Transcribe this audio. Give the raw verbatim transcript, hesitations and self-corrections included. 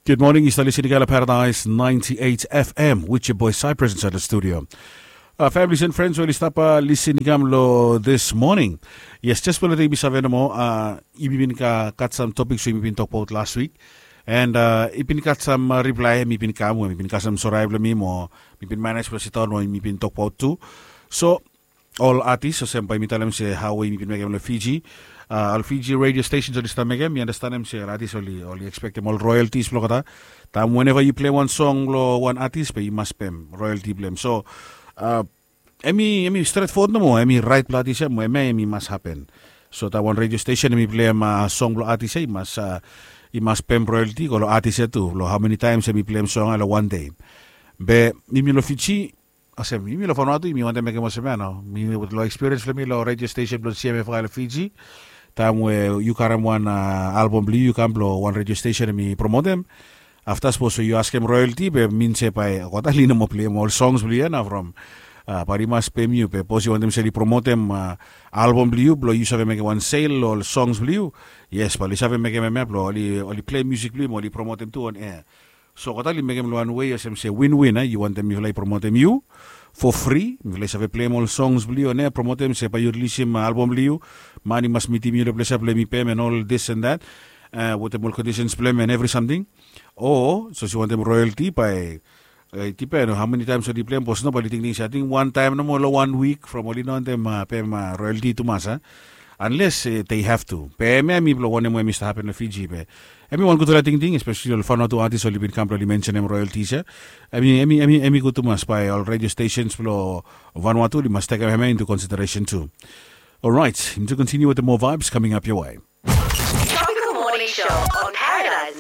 Good morning, yu stap lisin i kam long Paradise ninety-eight F M with your boy Cyprus inside the studio. Uh, families and friends, we oli stap uh, lisin i kam long this morning. Yes, just blo taim mi save nomo, uh, yumi bin ka gat sam topiks we yumi bin tokbaot last week. And uh, i bin gat sam uh, reply mi bin kam we mi bin gat sam sorai blong mi mo mi bin manage blong sidaon we mi bin tokbaot tu. So ol atis olsem bae mi talem se hao we yumi bin mekem long Fiji. Uh, ol Fiji radio stations oli stap mekem, mi andastanem se ol atis oli oli expectem ol royalties blong olgeta. Taem whenever yu plem wan song blong wan atis be yu mas pem royalty blong em. So uh, hemi hemi stret fowod nomo, hemi rait blong atis ya mo hemia hemi mas hapen. So taem wan radio station hemi plem uh, song blong atis ya i mas uh, i mas pem royalty go long atis ya tu long hao meni taems hemi plem song ya long wan dei. Be yumi long Fiji, olsem yumi long Vanuatu yumi wantem mekem olsem ya nao. Mi long experience blong mi long radio station blong C M F I long Fiji, taem we yu karem wan uh, album blong yu yu kam long wan radio station hemi promotem. Afta sapos we yu askem royalty be min se bae olgeta oli no moa plem ol songs blong yu ya nao from uh, bae oli mas pem yu be sapos yu wantem se oli promotem uh, album blong yu blong yu save mekem wan sale long ol songs blong yu. Yes, bae oli save mekem hemia blong oli oli plem musik blong yu mo oli promotem tu on air. So olgeta oli mekem long wan wei olsem se win win a, yu wantem mifala i promotem yu for free, mifala i save plem ol songs blong yu on air, promotem se bae yu rilisim album blong yu, man i mas mitim yu long ples ya blong hemi pem and all this and that, uh, wetem ol conditions blong em and every something. O sapos yu wantem royalty bae uh, i dipen hao meni taems oli plem bos no bae oli tingting se ating wan taem nomo long wan wik from oli no wantem uh, pem uh, royalty tumas a. Unless uh, they have to be hemia hemi blong wanem we hemi stap hapen long Fiji be hemi wan gudfala tingting, especially ol Vanuatu atis oli bin kam blong oli mensenem royalties ya. Hemi hemi hemi hemi gud tumas bae ol radio stations blong Vanuatu oli mas tekem hemia into consideration tu. Alright, yumi tu continue with the more vibes coming up your way. Tropical Morning Show on Paradise